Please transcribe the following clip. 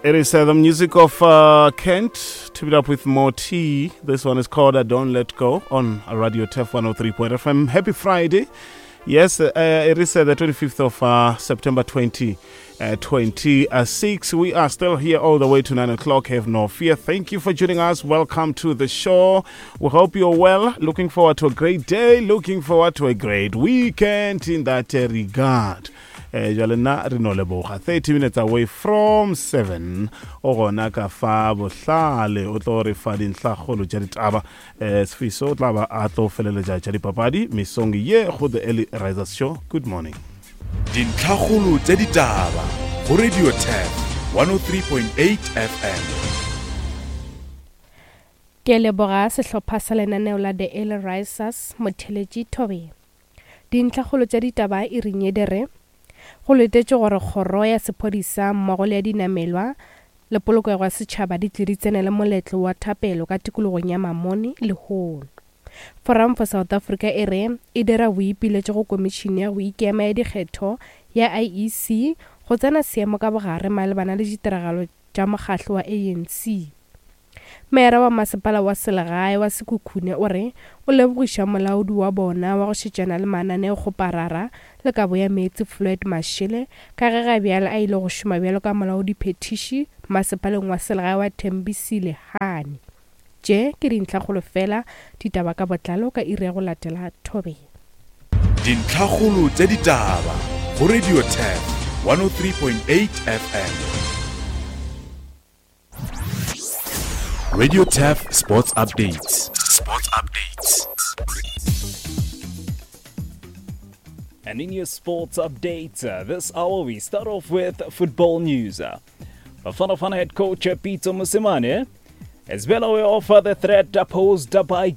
It is uh, the music of uh, Kent, teamed up with Moti. This one is called uh, Don't Let Go on Radio Turf 103.5 FM. Happy Friday. Yes, uh, it is uh, the 25th of uh, September 2026. We are still here all the way to 9 o'clock. Have no fear. Thank you for joining us. Welcome to the show. We hope you're well. Looking forward to a great day. Looking forward to a great weekend in that uh, regard. Eh, jale nna re no leboga 30 minutes away from 7 o gona ka fa bohlale o tlo re fa dintlhakgolo tša ditaba um sefiso o tla ba a tlo feleletša tša dipapadi mesong ye go the early risers show good morning Dintlhakgolo tša ditaba go Radio Turf 103.8 FM. Ke leboga sehlopha sa lenaneo la The Early Risers, Motheletši Thobela. Dintlhakgolo tša ditaba e ring ye di re, Go letetšwe gore kgoro ya sephodisa mmogo le ya dinamelwa le polokego ya setšhaba di tle di tsenele moletlo wa thapelo ka tikologong ya Mamone lehono. Forum for South Africa e re e dira boipiletšo go Komišene ya go Ikema ya Dikgetho ya IEC go tsena seemo ka bogare malebana le ditiragalo tša mokgahlo wa ANC. Meyara wa masepala wa selegae wa Sekhukhune o re o lebogiša molaodi wa bona wa go šetšana le mananeokgoparara le kabo ya meetse Floyd Mashele ka ge ga bjale a ile go šoma bjalo ka molaodiphethiši masepaleng wa selegae wa Thembisile Hani. Tše ke dintlhakgolo fela, ditaba ka botlalo ka iri ya go latela Thobela. Dintlhakgolo tša ditaba go Radio Turf 103.8 FM. Radio Turf Sports Updates. Sports Updates. And in your sports updates, uh, this hour we start off with football news. Bafana Bafana head coach uh, Peter Mosimane is well aware of uh, the threat posed by